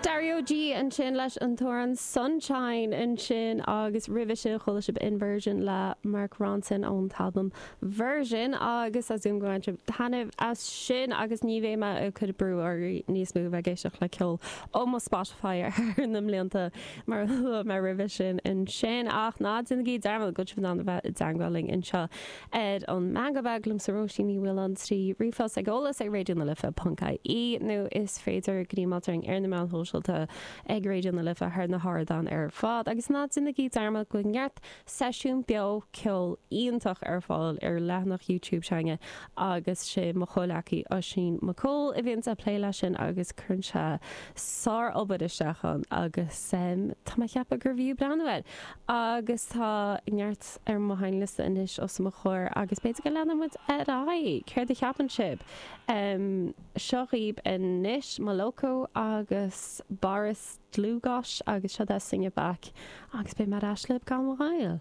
Dario G ansin leis an t-amhrán Sunshine ansin agus roimhe sin chuala sibh Inversion le Mark Ronson ón t-albam Version agus tá súil agam go bhain sibh taitneamh as sin agus ní bheidh mé ag cur brú oraibh níos mó bheith ag éisteacht le ceol ó mo Spotify thar na mblianta mar a luaigh mé roimhe sin ansin ach ná déanaigí dearmad go bhfuil sibh in ann a bheith i dteangmháil linn anseo ar an Meangadh Beag liomsa Róisín Ní Mhaoláin trí ríomhphost ag eolas ag Raidió na Life ponc ie nó is féidir gníomháil orainn ar na meáin shóisialta ag Raidió na Life thar na hardáin ar fad agus ná déanaigí dearmad go bhfuil neart seisiún beo ceoil iontach ar fáil ar leathanach YouTube s'againne agus sé mo chomhleacaí Oisín Mac Cóil a bhíonns ag plé leis sin agus cuireann sé sár-obair isteach ann agus tá mé ag ceapadh gurbh fhiú breathnú air agus tá neart ar mo sheinnliosta anois os mo chomhair agus b'fhéidir go leanfaidh muid ar aghaidh. Céard a cheapann sibh? Seo dhaoibh anois Moloko agus Boris Dlugosch agus seo é Sing It Back agus beidh mé ar ais libh gan mhoill.